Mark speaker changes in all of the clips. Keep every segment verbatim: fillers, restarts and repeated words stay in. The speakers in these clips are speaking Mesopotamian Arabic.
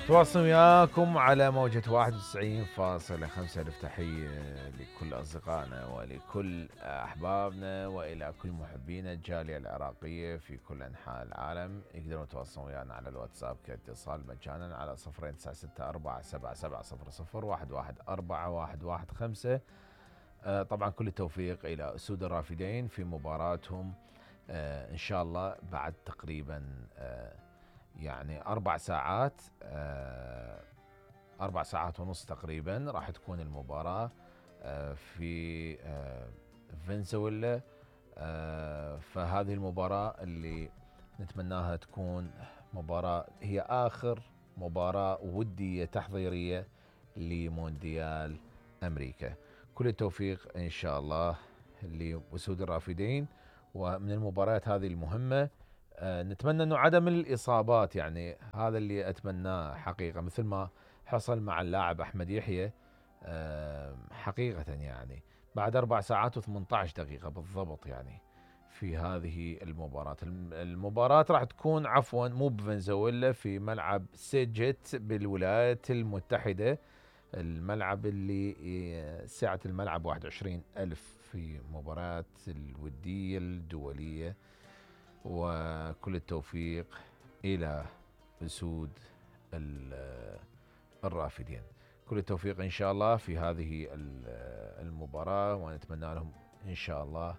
Speaker 1: تواصل وياكم على موجة واحد وتسعين فاصلة خمسة. ألف تحية لكل أصدقائنا ولكل أحبابنا وإلى كل محبين الجالية العراقية في كل أنحاء العالم. يقدرون يتواصلون ويانا على الواتساب كاتصال مجانا على صفرين تسعة ستة أربعة سبعة سبعة صفر صفر واحد واحد أربعة واحد واحد خمسة. آه طبعا كل التوفيق إلى أسود الرافدين في مباراتهم آه إن شاء الله بعد تقريبا آه يعني أربع ساعات آه أربع ساعات ونص تقريبا راح تكون المباراة آه في آه فنزويلا. آه فهذه المباراة اللي نتمناها تكون مباراة هي آخر مباراة ودية تحضيرية لمونديال أمريكا. كل التوفيق إن شاء الله لأسود الرافدين. ومن المباريات هذه المهمة آه نتمنى أنه عدم الإصابات، يعني هذا اللي أتمناه حقيقة، مثل ما حصل مع اللاعب أحمد يحيى آه حقيقة. يعني بعد أربع ساعات وثمانية عشر دقيقة بالضبط يعني في هذه المباراة. المباراة راح تكون عفوا مو بفنزويلا، في ملعب سيجت بالولايات المتحدة، الملعب اللي سعة الملعب واحد وعشرين ألف، في مباراة الودية الدولية. وكل التوفيق إلى أسود الرافدين، كل التوفيق إن شاء الله في هذه المباراة، ونتمنى لهم إن شاء الله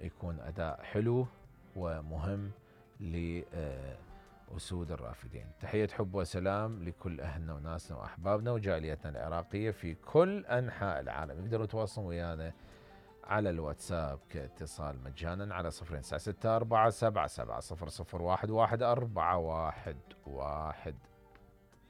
Speaker 1: يكون أداء حلو ومهم لأسود الرافدين. تحية حب وسلام لكل أهلنا وناسنا وأحبابنا وجاليتنا العراقية في كل أنحاء العالم. يقدروا يتواصلوا ويانا على الواتساب كاتصال مجانا على صفرين تسعة ستة أربعة سبعة سبعة صفر صفر واحد واحد أربعة واحد واحد